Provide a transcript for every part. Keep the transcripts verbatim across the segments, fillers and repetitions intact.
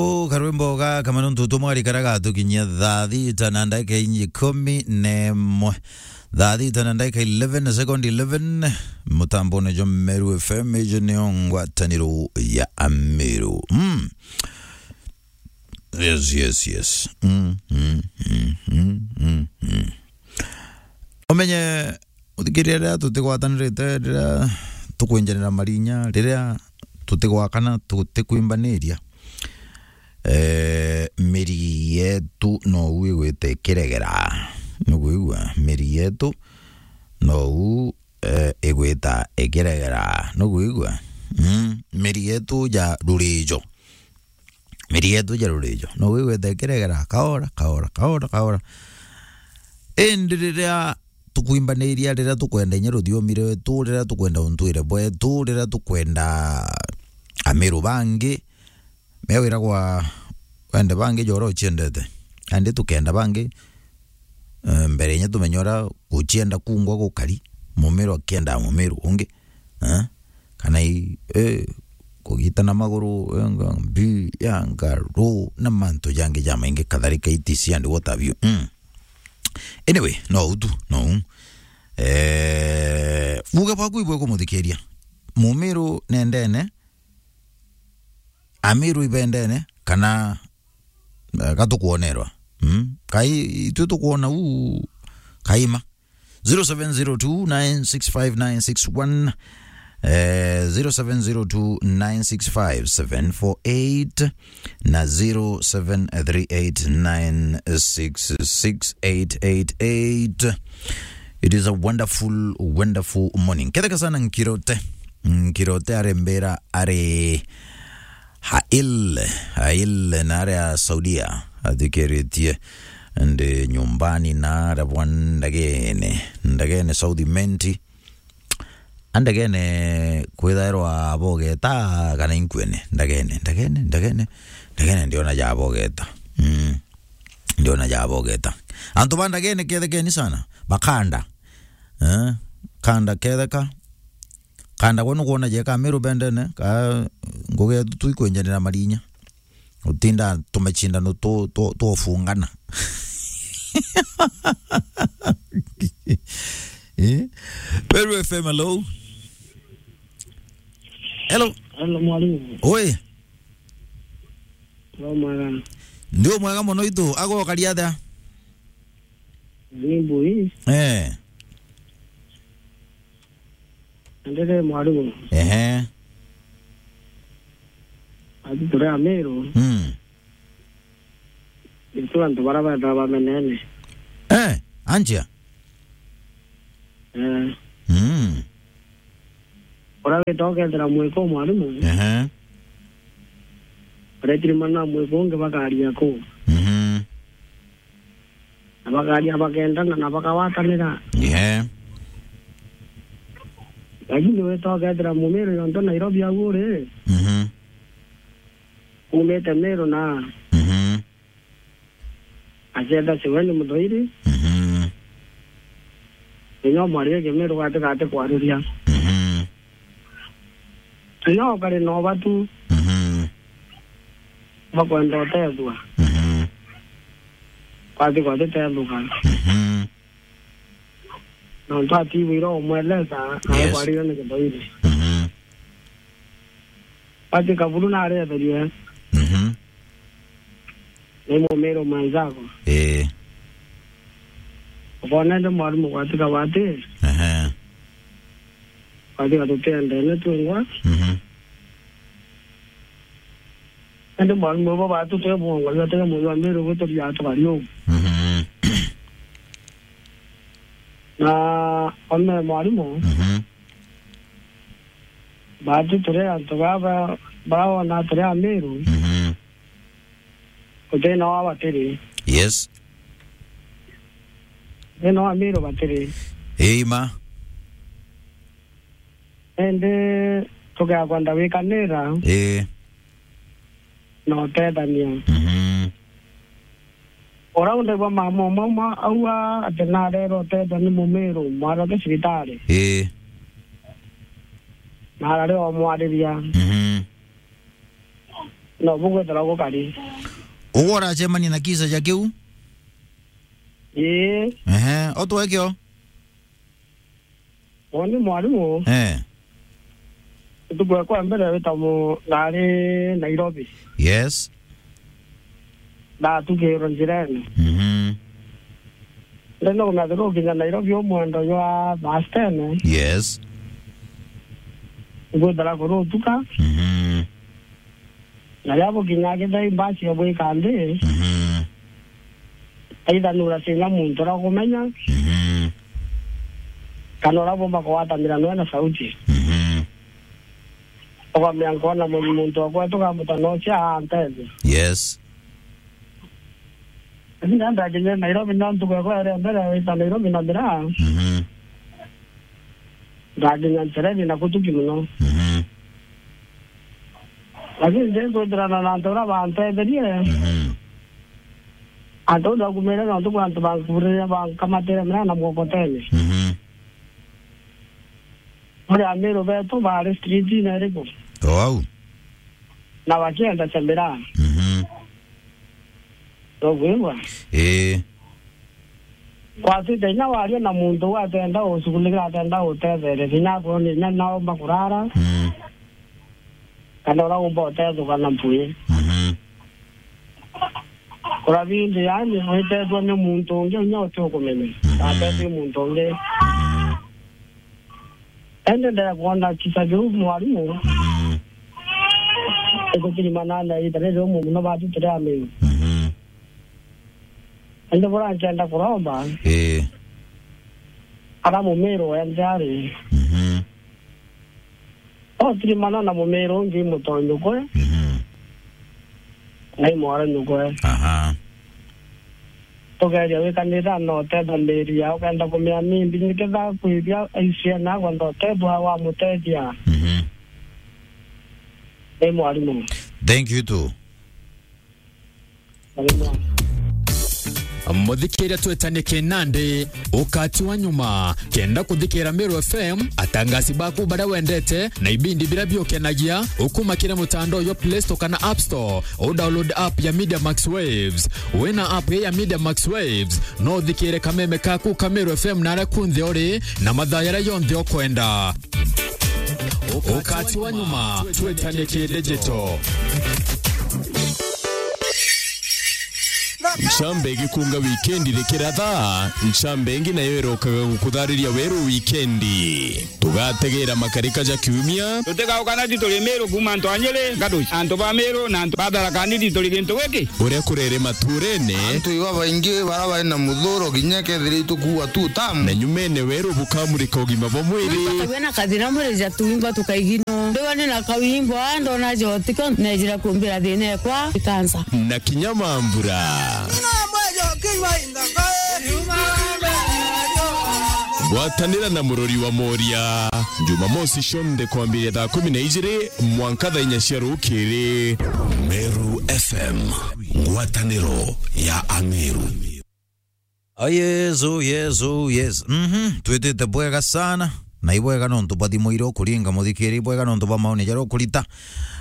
O karwimbo gaka manontu tumwarikaraga tukinyia thaa thita na ndagika inyi ikumi na imwe. Thaa thita na ndagika eleven, second eleven, mutambone jwa Meru F M, ijo nio ngwataniro ya Ameru. Mm. Yes, yes, yes. Mm, mm, mm, mm, mm, mm. Umenye, uthikiria, riria tutigwatanirite, riria tukwinjanira marinya, riria tutigwakana, tutikwimbaniriria, eh, miri yetu nou igwita ikiregera. Nukwigua? Miri yetu nou, eh, igwita ikiregera. Nukwigua? Mm, miri yetu ja rurijo. Miri yetu ja rurijo. Nou igwita ikiregera kaora, kaora, kaora, kaora. Indi riria tukwimbaniria, riria tukwenda inya ruthiomi rwetu, riria tukwenda untwire bwetu, riria tukwenda Ameru bangi, me wiragwa wende bangi jora uciendete. Andi tukenda bangi, eh, mbere inya tumenye uria gucienda kungwa gukari, Mumiru akienda Mumiru ungi. Eh? Kana i, eh, kugitana maguru, eh, nga-, mbi, ya ngaru, na mantu jangi jamaingi, kadhalika, et cetera and what have you. Mm. Anyway, no utu, no. Eh, buge bwaku ibwe kumuthikiria. Mumiru nendene, Amiru ibendene, kana, eh, gatukuonerwa. Mm? Kai, itwe tukuona u, kaima. Zero seven zero two nine six five nine six one, eh, zero seven zero two nine six five seven four eight na zero seven three eight nine six six eight eight eight. It is a wonderful, wonderful morning. Ketheka sana Nkirote. Nkirote arembera ari Hail, Hail na aria Saudia athikiritie ndi nyumbani na aria bwa ndagene, ndagene South Imenti. Andagene kwithairwa abogeta kana inkwene? Ndagene, ndagene, ndagene, ndagene ndiona ja abogeta. Mm. Ndiona ja abogeta. Antu ba ndagene kethekeni sana. Bakanda. Eh? Kanda ketheka. Kanda gwe nukwona jeka Meru bendene, ka ngugi yetu tuikwinjanira marinya. Utinda tumacindano tu, tu, twofungana. Eh? Meru F M, hello? Hello? Hello, mwalimu. Oi. No mwega. Ndio mwega muno itu, agokaria atia? Ni mbui. Eh. Ndiri mwarimu. Ehe. Ati turi Amiru. Mm. Nitu antu bara bethaga bamenene. Eh, anjia? Eh. Mm. Uria wita ukethira mwiko mwarimu. Ehe. Uretiri mana mwiko ungi bakaria ku. Mhm. Na bakaria bakendana na bakawatanira. Ehe. Lakini wita ukethira Mumiru yonto Nairobi au uri. Mhm. Umite Meru na. Mhm. Acetha ciwe ni muthoiri. Mhm. Inya mwarie Kimiru gati gati kwariria. Mhm. Inya ukari na ubatu. Mhm. Bakwenda utethua. Mhm. Kwati kwati tethuka. Mhm. Nontu atiwire umweleza, nawe Yes. kwarire ni githoiri. Mhm. Bati kaburu naretherie. Mhm. Ni Mumiru mwenzako. Ii. Ukona ndi mwarimu gwatika bati. Ehe. Gwatika tutiendene twingwa. Mhm. Indi mwarimu bo batu twe mwongo, yo twe mwongo, Miru gwe turia tukari uu. Mhm. Na one mwarimu, Mhm. batu turi antu baba, bara wona turi Amiru, Mhm. utina wa batiri. Yes. Utina wa Miru batiri. Ii ma. Indi tugeakwenda wikanira Ii. na utethania. Mhm. Ura undaigua mama umwe umwe auga ati narera utethwa ni Mumiru, mwarage cibitari. Ii. Na arari omwariria. Mhm. No bugwethera gukari. Ugu uracemania na kisa ja kiu? Ii. Ehe, utwekio? Uuni mwarimu. Eh. Ntuku ekwa mbere wita mu-, ndari Nairobi. Yes. Ndatukirwe njirene. Mhm. Ndenda kumenya turukinya Nairobi umwendo jwa thaa ten. Yes. Ngwithira kurutuka. Mhm. Na riria bukinya githei mbasi ya bwika nthi. Mhm. Either nuracinya muntu uria ukumenya. Mhm. Kana uria bumba kugwatanira noe na sauti. Mhm. Ukamenya nkwona mu-, muntu wa kwetu kamuta nocia antethia. Yes. Lakini ndakinyire Nairobi, no ntuku ekwa iri mbere wita Nairobi na miraa. Mhm. Ndakinya nchereni na kutuki muno. Mhm. Lakini ndi nkwithirana na antu uria bantetherie. Mhm. Antu ndakumire nontu bwa antu bankuriria bankamatire miraa na mokotene. Mhm. Bari Amiru betu bari streetine iriku? O au. Na bakienda cha miraa. Mhm. Nogwigua? Ii. Kwatite inya waria na muntu uu atenda ucughulikira, atenda utetheria, inya akwona inya naomba kurara. Mm. Kana uria umba utethuka na mpui. Mhm. Kurabindi, yani, witetwe ni muntu ungi, unya uti ukumenya. Mhm. Atetwi muntu ungi. Mhm. Ende ndaya kwona kisa kiu mwarimu. Mhm. Ikutirimanana ita riri umwe muno batu turi Amiru. Mhm. Ende bura nkenda kuromba. Ii. Ara Mumiru wenthe ari. Mhm. Otirimana na Mumiru ungi mutonyu kwe. Mhm. Na imwara nyukwe. Aha. Tugeria wikanira na utetha miri ya ukenda kumia mimbi niketha kwithia aisia na kwenda utethwa wa mutethia. Mhm. Ni mwarimu. Thank you too. Mwarimu. Muthikiria twetanie kinandi, ukati wa nyuma. Kenda kuthikira Meru F M, atangasi baku baria wendete, na ibindi biria biukenagia, ukuma kiri mutandao jwa Play Store kana App Store, u download app ya Media Max Waves. Wina app ya Media Max Waves, no uthikire kameme kaku ka Meru F M na aria kunthe uri, na mathaa jaria jonthe ukwenda. Ukati wa nyuma, twetanie ki digital. Ncambe igikunga wikendi rikiratha, ncambe ingi nayo irokaga gukuthariria weru wikendi. Tugategera makarika ja kiumia. Tutigaukana ti turi Miru kuuma antu a Nyeri, Gaduci, antu ba Miru na antu ba Tharaka Nithi turi gintu giki. Uria kurere maturene. Antu iba baingi bara bari na muthuro kinya kethira itukuua tu tamu. Na nyumene weru bukamurika ugima bwa mwiri. Twina kathina mwiri ja tuimba tukaigino. Ndiwa ni na kawimbo, ndona jotiko, nejira kumbira thina ekwa, ikansa. Na kinya mambura. Gwatanira na murori wa Moria. Jumamosi cionthe kwambiria thaa kumi na ijiri mwanka thaa inya cia rukiri. Meru F M, ngwataniro ya Ameru. Oh, yes, oh, yes, oh, yes. Mhm, twitite bwega sana. Na ibwega nontu bwa thimu iria ukuringa muthikiri, ibwega nontu bwa maoni jaria ukurita.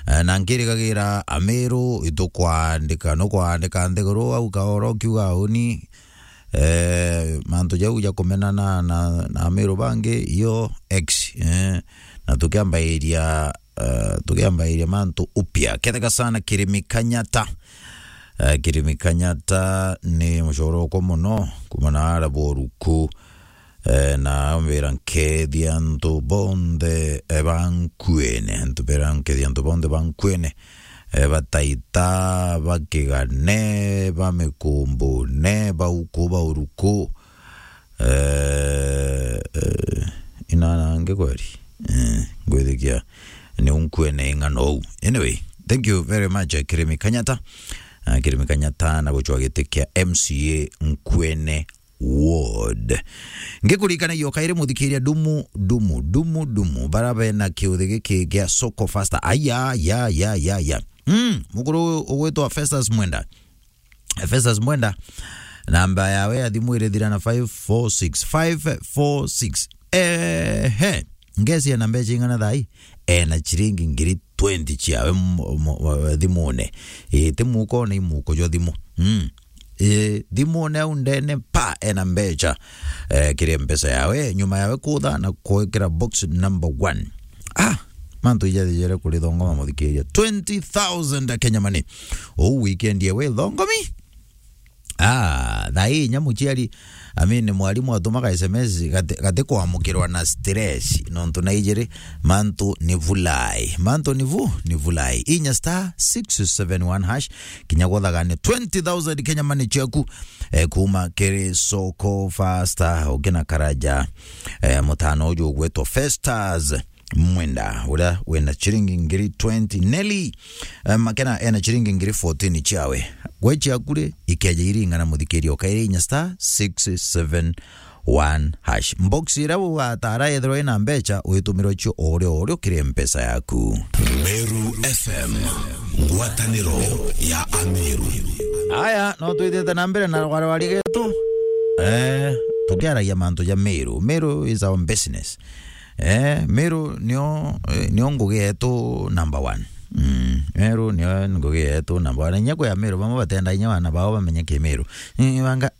Eh, na nkirigagira Ameru itukwandika, nukwandika nthiguru au kaoro kiuga uni. Eh, mantu jau ja kumenana na, na Ameru bangi, iyo X, eh, na tukiambairia, eh, tukiambairia mantu upya. Ketheka sana Kirimi Kanyata. Eh, Kirimi Kanyata ni mucoro okwa muno, kuma na ara boruku. Eh, na ambira nkethia antu bonthe, eh, ba Nkuene, antu bera nkethia antu bonthe ba Nkuene, eh, ba Taita, ba Kigane, ba Mikumbune, ba uku, ba uruku, eh, eh, inana angi kweri? Eh, ngwithikia ni Nkuene ing'ano ou. Anyway, thank you very much, eh, Kirimi Kanyata. Ah, Kirimi Kanyata na gucwa giti kia M C A Nkuene Ward. Ngikurikanagia o kairi muthikiria dumu, dumu, dumu, dumu. Bara bena kiuthi giki gia Soko Fasta. Aya, ya, ya, ya, ya. Mm, mukuru ugwitwa Festus Mwenda. Festus Mwenda, namba yawe ya thimu iri thira na five four six, five four six. Ehe. Ngesi ena mbeca ing'ana thai? Ena ciringi ngiri twenty ciawe mu-, mu-, thimune. Ii, ti mukone, i muko jwa thimu. Mm. Ii, thimune au ndene, pa, ena mbecha, eh, kiri mpesa yawe, nyuma yawe kutha na kwikira box number one. Ah, mantu ijathiere kuri thongoma, muthikiria. Twenty thousand Kenya money. Uu weekend yewe thongomi. Ah, thaa ii inya muciari, I mean, mwarimu atumaga S M S gati, gati kwamukirwa na stress, nontu na ijiri, mantu ni vulai. Mantu ni vu, ni vulai. Inya star six seven one hash, kinya gwathagane twenty thousand Kenya money ciaku, eh, kuma kiri soko fasta, ukina karaja, eh, mutano uju ugwitwa Festas. Mwenda, uria wina ciringi ngiri twenty. Nelly, eh, Makena ena ciringi ngiri fourteen ciawe. Gwe ciaku ri, ikeja iringana, muthikiria, ukaire inya star six seven one hash. Box iria ugatara yethirwa ina mbecha, uitumirwa cio o rio o rio kiri mpesa yaku. Meru F M, ngwataniro ya Ameru. Aya, no twithite na mbere na rwarwari getu. Eh, tukiaragia mantu ja Meru. Meru is our business. Eh, Meru nio, eh, nio ngugi yetu number one. Mm, Meru nio ngugi yetu number one. Inya kwi Ameru bamwe batenda inya bana bao bamenye Kimeru. Ni banga,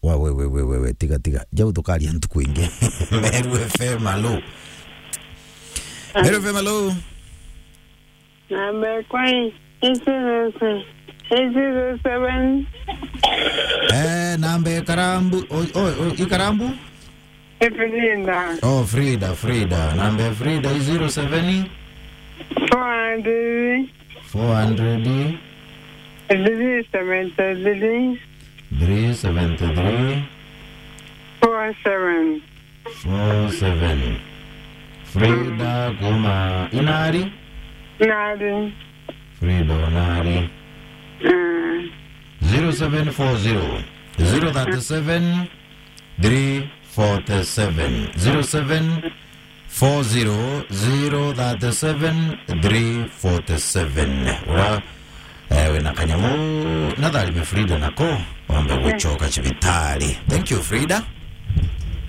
wa, we, we, we, we, we, tiga, tiga. Jau tukaria ntuku ingi. Meru F M, alo. Meru F M, alo. Namba ekwa i, i zero seven, i zero seven. Eh, namba ikarambu, o, o, o, ikarambu? Frida. Oh, Frida, Frida. Namba ya Frida i zero seven? Four hundred. Four hundred. Three seventy-three. Three seventy-three. Four seven. Four seven. Frida kuma Inari? Inari. Frida Inari. Mm. Zero seven four zero, zero thirty-seven, three forty-seven. Zero seven four zero, zero thirty-seven, three forty-seven. Ura, eh, wina kanyamu, na tharime Frida nako, wambe gucoka cibitari. Thank you, Frida.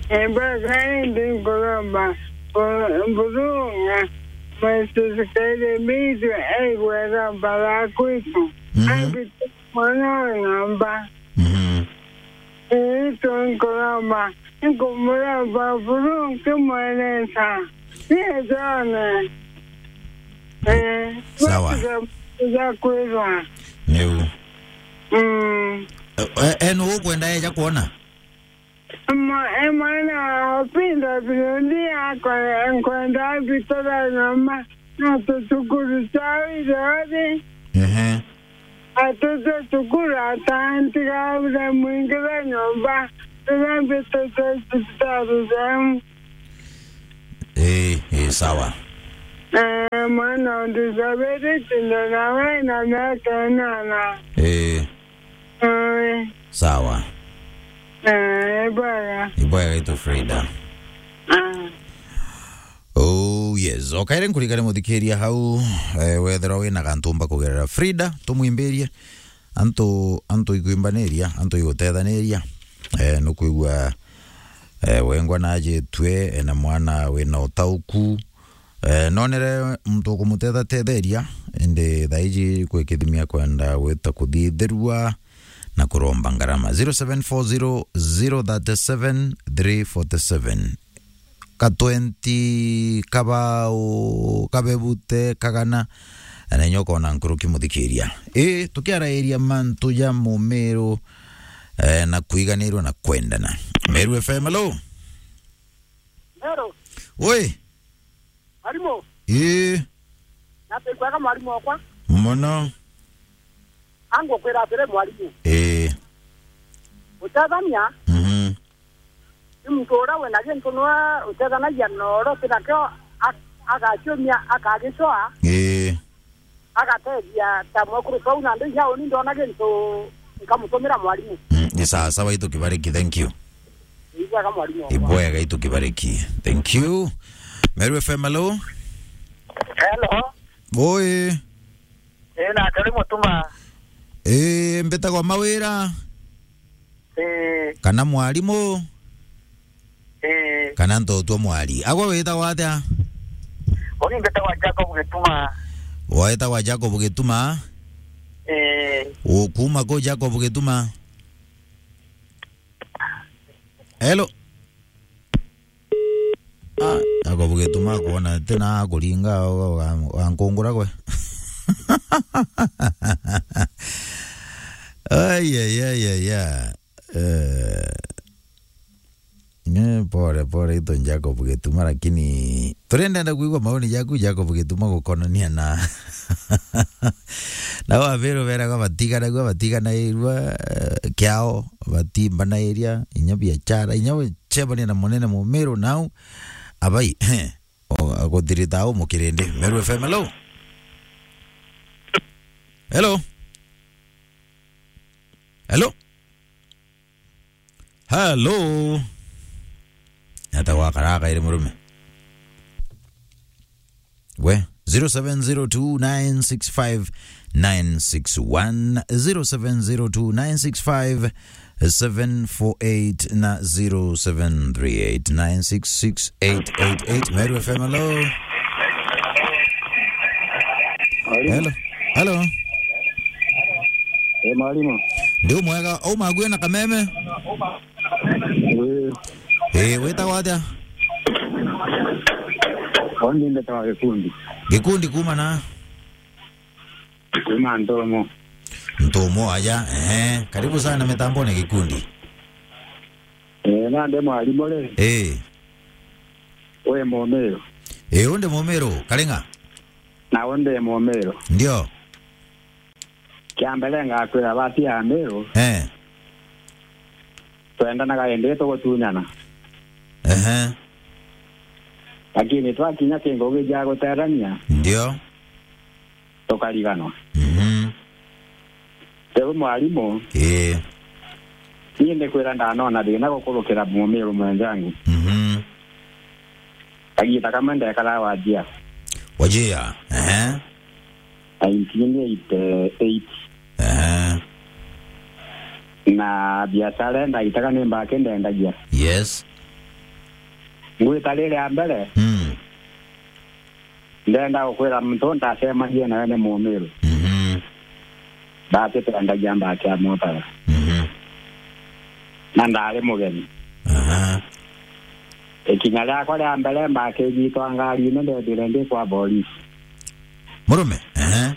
Embwa kandi nkuromba, mbu-, mburunga, mwesusukaire mitu, aigwera mbara kwitu. Mhm. Angi mwana wa ng'omba. Mhm. Ii, tu nkuromba, nkumuromba buru nkimweresa. Nietone. Eh, sawa. Tuga, tuga kwirwa. Niu. Mm. Eh, eh, enu ukwenda eja kwona? Mwa-, e mwana wa Opinda Birundi akwa-, nkwenda mbitara nyomba na tucukuru twa Irori. Ehe. Atute cukuru atantiga ure mwingi wa nyomba, riria mbitite cibitari jemu. Ii, ii, sawa. Eh, mwana undizabiri tindo nawe na miaka inana. Ii. Oi. Sawa. Eh, bwega. Ibwega itu Frida. Ah. Oh, yes. Okaire nkurikane muthikiria hau, eh, wethirwa wina gantu umba kugerera Frida, tumwimbirie. Antu, antu ikwimbaneria, antu igutethaniria. Eh, nukwigua, eh, wengwa najitue, ena mwana wina utauku. Eh, nonere muntu ukumutetha tetheria, indi thaiji kwi kithimi akwenda gwita kuthithirua na kuromba ngarama. Zero seven four zero, zero thirty-seven, three forty-seven. Ka twenty, kabau, kabebute, kagana, na inya ukona nkuruki muthikiria. Ii, tukiarairia mantu ja mumiru, eh, na kuiganirwa na kwendana. Meru F M, hello? Hello. Oi. Mwarimu. Ii. Nateithwaga mwarimu wakwa. Mono. Angukwira atiri mwarimu. Ii. Gutethania. Mhm. Ni muntu uria wina gintu niwe utethanagia na uria uti nakio, a-, agaciumia, akagicoa. Ii. Agatethia ta mwekuru Pau, na ndi inya uni ndona gintu nkamutumira mwarimu. Mm, ni sawa sawa, itu kibariki, thank you. Ibwega mwarimu wakwa. Ibwega, itu kibariki. Thank you. Meru F M, hello? Hello. Oi. Ii, na atari mutuma. Ii, mbitagwa Mawira. Ii. Kana mwarimu. Ii. Kana ntotwa mwari. Agwe witagwa atia? Uni mbitagwa Jacob Gituma. Wetagwa Jacob Gituma? Eh. Ukuma ku Jacob Gituma? Hello? Ah, Jacob Gituma kwona tena akuringa, wa-, wa-, wankungura gwe. Ai, ai, ai, ai, ai. Eh. Nye, pole, pole, itu Jacob Gituma, lakini turendenda kuigua maoni jaku, Jacob Gituma, gukonania na, na Amiru beraga batiganagua, batiganairua, eh, kiao, batimbanairia, inya biachara, inya gucemania na munene Mumiru nau, abai, o, aguthirita au mukirindi. Meru F M, hello? Hello? Hello? Hello? Ata gwakaraka iri murume. We, zero seven zero two nine six five nine six one, zero seven zero two nine six five seven four eight na zero seven three eight nine six six eight eight eight. Meru F M, hello? Mwalimu. Hello. Hello. Eh, mwalimu. Ndi umwega, uma aguye na kameme? Eh. Eh, witagwa atia? Ondi ndetawa Gikundi. Gikundi kuma na? Kuma Ntomo. Ntomo, aja, ehe. Karibu sana mitambone Gikundi. Eh, nande mwalimu ri? Eh. We Mumiru. Eh, undi Mumiru, Karinga? Na undi Mumiru. Ndio. Kia mbere ngakwira bati ya Miru. Eh. Twendanaga indi tugutunyana. Ehe. Lakini twakinya kingugi gia guterania, ndio, tukariganwa. Mhm. Riu mwalimu, ii, ni ndikwira ndanona thina gukurukira Mumiru mwenjangu. Mhm. Kagiita kamwe ndekara Wajia. Wajia, ehe. Nineteen eighty-eight. Ehe. Na biashara ndaitaga ni mbaki ndendagia. Yes. Ngwita riri ya mbere, mm, ndenda gukwira muntu ndacemanie nawe ni Mumiru. Mhm. Ndati twendagia mbaki ya motara. Mhm. Na ndari mugeni. Aha. Ikinya riakwa ria mbere mbaki igitwa ngarine, ndethire ndi kwa borisi. Murume? Ehe.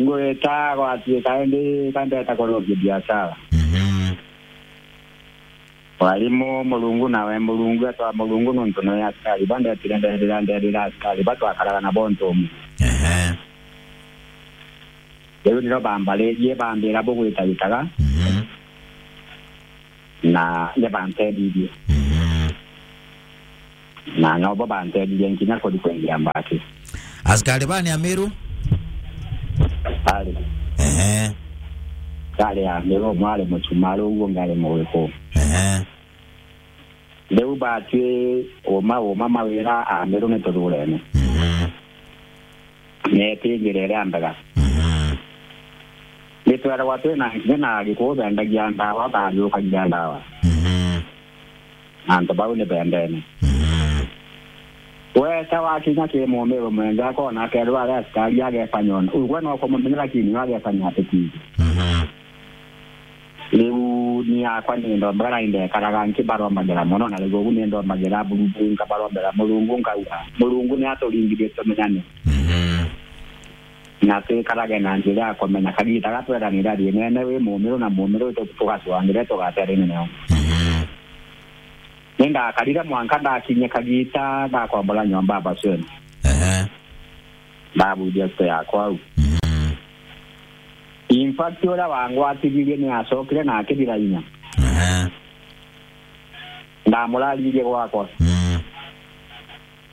Ngwita gwatuika indi kandeta kurukia biashara. Mhm. Mwalimu Murungu nawe Murungu, etwa Murungu nontu noe askari ba ndetire, ndethira, ndethira askari ba twakaraga nabo ntumu. Ehe. Riu niro bambaririe, bambira bugwita gitaga. Mhm. Na ni bantethithie. Mhm. Na nobo bantethithie nginya kuri kwendia mbaki. Askari bani Amiru? Ari. Ehe. Ari Amiru, umwe ari Muchumari, uguo ungi ari Mugiku. Ehe. Riu batwi uma, uma mawira Amiru ni tuthurene. Mhm. Neti njira iria mbega. Mhm. Nitweragwa twina nginya na Agikuyu bendagia ndawa, bathiurukagia ndawa. Mhm. Na antu bau ni bendene. Mhm. Weta wakinya ki Mumiru mwenja akona akerwa ari askari agefanya ona. Ugwe no kumumenya, lakini we agefanya ati tiji. Mhm. Riu ni akwa ni ndombaga na indekaraga nkibarombagira mono, na riu ugu ni ndombagira Murungu, nkabarombera Murungu, nkauga, "Murungu ni aturingithie tumenyane." Mhm. Na twikarage na njira ya kumenya kagita ga tweranira thiinene wi Mumiru na Mumiru tu-, tugacwangire tugaterene neo. Mhm. Ni ndakarire mwanka ndakinyia kagita ndakombora nyomba ya Basweni. Ehe. Ndabuithia site yakwa au. Mhm. In fact, uria wangwatithirie ni acokire na akithira inya. Ehe. Ndamuraririe gwakwa. Mhm.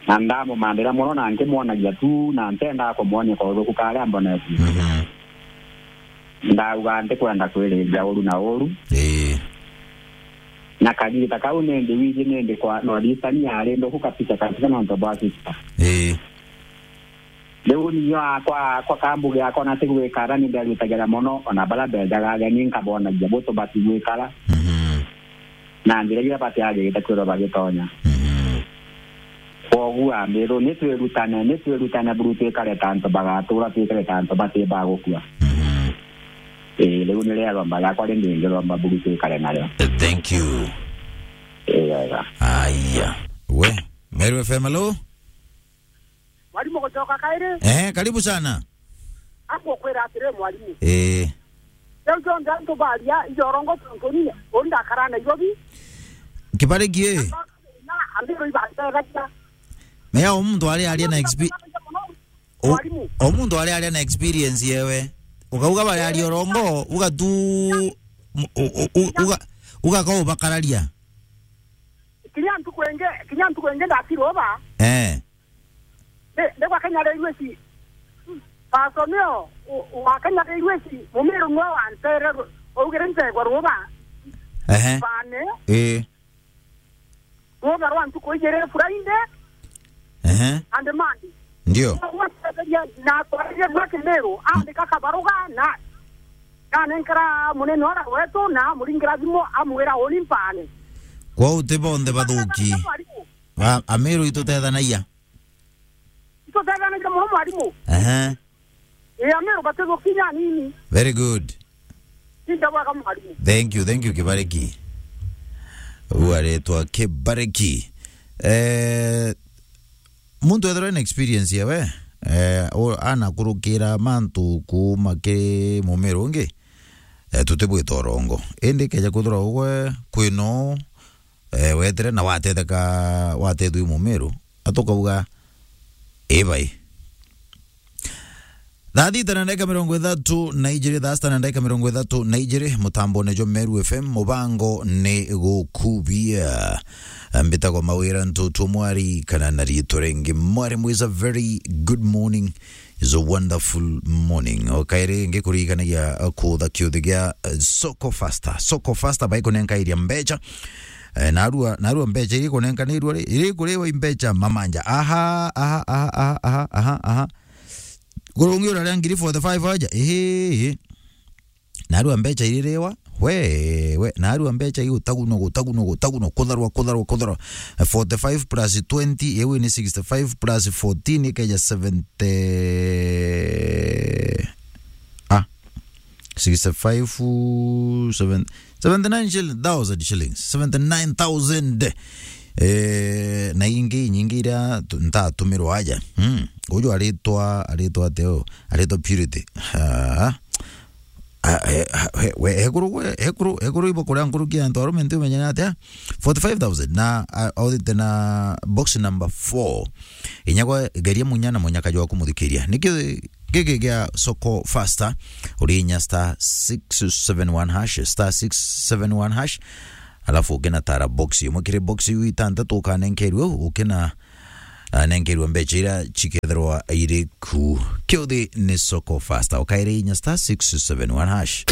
Na ndamumandira mono na nkimwonagia tu, na ntendaa kumwonia kauthuku karia mbonetie. Mhm. Ndauga, "Ntikwenda kwiriria uru na uru." Ii. Na kagita kau nindi wiji nindi kwa North Eastern yari nduku kabisa kabisa nontu bwa sister. Ii. Riu niyo akwa, akwa kambuge akwa na tigwikara ni nderutagira mono, ona baria benjaga ageni nkabonagia butu batigwikara. Mhm. Na njira iria batiagirite kwirwa bagitonya. Mhm. Kwoguo Ua, mbithu, ni twirutane, ni twirutane buru twikare ta antu bagatura, twikare ta antu bati bagukua. Mhm. Ii, riu ni ria rwamba riakwa rindingi rwamba buru twikare nario. Thank you. Ii, wega. Aya. We, Meru F M, hello? Mwalimu gucoka kairi. Eh, karibu sana. Akukwira atiri, mwalimu. Eh. Riu jonthe antu baria ijorongo tontu ni uri ndakara Nairobi. Kibariki, eh. Na ambiro ibantegagia. Meya o muntu ari aria na expe-, o, mwalimu, o muntu ari aria na experience yewe. Ukauga bari aria orongo, ugatu, u-, u-, u-, uga, ugaka ubakararia. Kinya ntuku ingi, kinya ntuku ingi ndakirwa uba. Eh. Ndi, ndigwa Kenya Railways. Paso nio, u-, u-, wa Kenya Railways, Mumiru nwe wantere ru-, augire ntegwa ruba. Ehe. Bane. Ii. Ruba rwa ntuku ijiri, Friday. Ehe. And Monday. Ndio. Na gwatetheria, na twaririe gwa Kimiru, andika kabaruga na, na nenkera munene ora wetu, na amuringira thimu, amwira uni mpane. Kwou ti bonthe bathuki. Mwalimu. A-, Amiru itutethanagia. Itutethanagia mono, mwalimu. Ehe. Ii, Amiru batithukinya nini. Very good. Inda bwega, mwalimu. Thank you, thank you, Kibariki. Uu aretwa Kibariki. Eh, muntu ethirwa ena experience yawe, eh, o-, anakurukira mantu kuuma kiri Mumiru ungi, eh, tutibwita urongo. Indi keja kwithirwa ugwe kwino, eh, wetire na watetheka, watethua i Mumiru, atukauga, "Ii bai." Thaa thita na ndagika mirongo ithatu na ijiri, thaa sita na ndagika mirongo ithatu na ijiri, mutambone jwa Meru F M, mubango ni gukubia. Mbitagwa Mawira Ntutu Mwari, kana na riitwa ringi Mwari Mwiza. Very good morning. Is a wonderful morning. O kairi ngikurikanagia kutha kiuthi gia, eh, Soko Faster. Soko Faster baikunenka iria mbecha. Eh, narua, narua mbecha iri kunenkanirua ri, iri kuriwa i mbecha mamanja. Aha, aha, aha. Kurungi uraria ngiri forty-five aja. Ehe, ehe. Narua mbecha iririwa. We, we, narua mbecha i gutagunwa, gutagunwa, gutagunwa, kutharwa, kutharwa, kutharwa. Forty-five plus twenty, ewe ni sixty-five plus fourteen, ikeja seventy. Ah, sixty-five, seven, seventy-nine shilling-, thousand shillings, seventy-nine thousand. Eh, na ingi nyingi iria tu-, ntatumirwa aja. Hmm. Uju aritwa, aritwa ateo, aritwa Purity. Ah. Ah, eh, ah, he, we, hekuru, we, hekuru, hekuru ibo kuria nkuruki ya antu arume nti umenyana atia? Forty-five thousand na, ah, authite na box number four. Inyagwa geria munya na munyaka jwa kumuthikiria. Niki giki gia Soko Faster, uri inya star six seven one hash, star six seven one hash, alafu ukina tara box imwe kiri box iu itantatu ukanenkerwe, ukina, ah, nenkerwe mbecha iria cikethirwa iri ku. Kiuthi ni Soko Faster, ukaire inya star six seven one hash.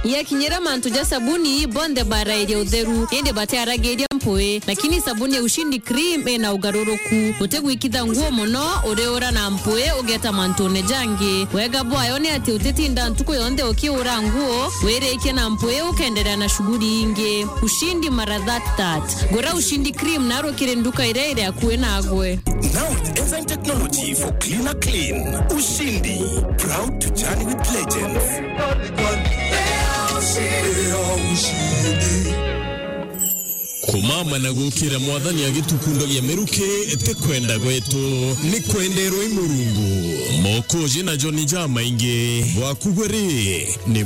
Yakinyira mantu ja sabuni, bonthe barairia utheru, indi batiaragiria mpui. Lakini sabuni ya Ushindi Cream ina ugaruruku. Utigwikitha nguo mono, uriura na mpui, ugeta mantune jangi. Wega bwayo ni ati utitinda ntuku yonthe ukiura nguo, wirikie na mpui, ukenderea na shughuli ingi. Ushindi mara that that. Gura Ushindi Cream narukire nduka iria iri akui nagwe. Now with enzyme technology for cleaner clean. Ushindi, proud to journey with legends. Kumama na gukira Mwathani agitukundagia miruki ti kwenda gwetu, ni kwenderwa i Murungu. Mokoji na Joni jamaingi, gwaku gwe ri, ni